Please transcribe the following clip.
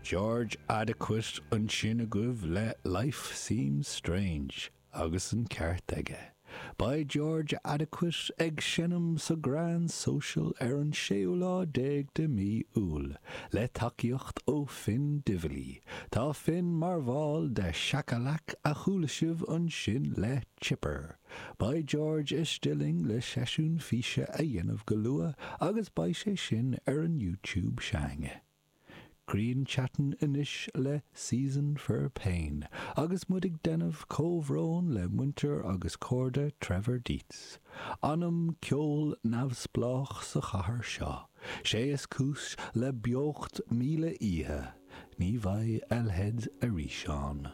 George Adequate ansin agaibh le Life Seems Strange agus an ceart aige. Beidh George Adequate ag seinm sa Grand Social ar an séú lá déag de mí Iúil, le tacaíocht ó Finn Divilly. Tá Finn mar bhall de Shakalak a chuala sibh ansin le Chipper. Beidh George istigh linn le seisiún físe a dhéanamh go luath agus beidh sé sin ar an YouTube s'againne. Grian Chatten anois le Season for Pain agus muid ag déanamh comhbhrón le muintir agus cairde Trevor Dietz. Anam ceoil neamhspleách sa chathair seo, sé is cúis le beocht 1000 oíche, ní bheidh a leithéid arís ann.